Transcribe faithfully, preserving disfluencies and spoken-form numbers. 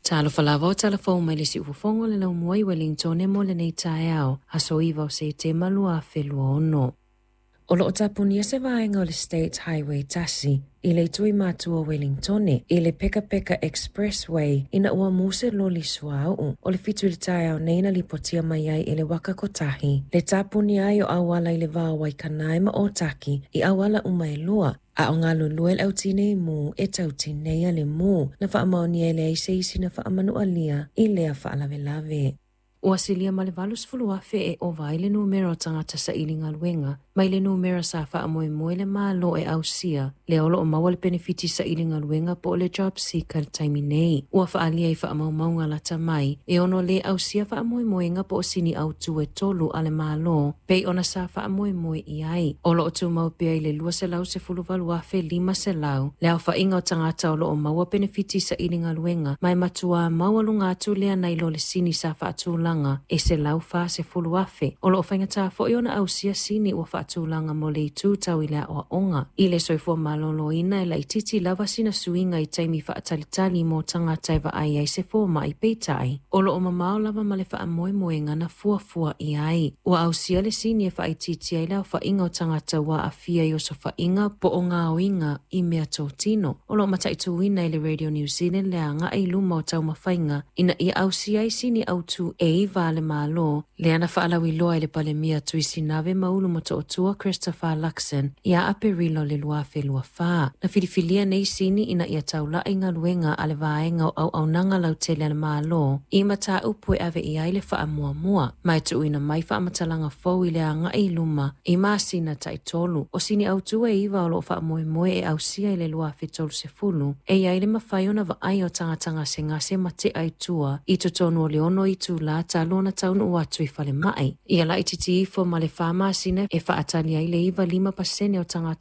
Talofa lava o talafou mai le siufofoga o le laumua i Wellington mo lenei taeao, aso iva o Setema lua afe lua ono. O loo tapunia se vaega o le State Highway tasi i le itu i matua o Wellington i le Peka Peka Expressway ina ua mu se loli suauu. O le fitu i le taeao nei na lipotia mai ai e le Waka Kotahi le tapunia ai o auala i le va o Waikanae ma Otaki i auala uma e lua. A o galulue le autinei mu e tautinei le mu na faamaonia e leai se isi na faamanualia i lea faalavelave. Ua silia ma le valu sefulu afe e ova ai le numera o tagata saili galuega mai le numera sa faamoemoe le Malo e ausia lea o loo maua le penefiti saili galuega po o le Job Seeker le taimi nei. Ua faaalia i faamaumauga lata mai e ono lē ausia faamoemoega po o sini autū e tolu a le Malo pei ona sa faamoemoe i ai. O loo tumau pea i le lua selau sefulu valu afe lima selau le aofaiga o tagata o loo maua penefiti saili galuega ma e matuā maualuga atu lea nai lo le sini sa faatulaga e selau fa sefulu afe. O loo faigata foi ona ausia sini ua faatulaga mo le itu tau i le aoaoga i le soifua malōlōina e laititi lava sina suiga i taimi faatalitali mo tagata e vaai ai se fomai. Peitai o loo mamao lava ma le faamoemoega na fuafua i ai. Ua ausia le sini e faaitiitia ai le aofaiga o tagata ua aafia i osofaiga po o gaoiga i mea totino. O loo mataituina e le Radio New Zealand le agai i luma o taumafaiga ina ia ausia ai sini autū e iva a le Malo lea na faalauiloa e le Palemia Tuisinave Maulu Motootua Christopher Luxon ia Aperilo le lua afe lua fa. Na filifilia nei sini ina ia taulai galuega a le vaega o auaunaga lautele a le Malo i mataupu e ave i ai le faamuamua ma e tuuina mai faamatalaga fou i le agai i luma i masina taitolu. O sini autū e iva o loo faamoemoe e ausia i le lua afe tolu sefulu e iai le mafai ona vaai o tagata gasegase ma tea i tua i totonu o le ono itulā talu ona taunuu atu i falemai. Ia laititi ifo ma le fa masina e faatali ai le iva lima pasene o tagata.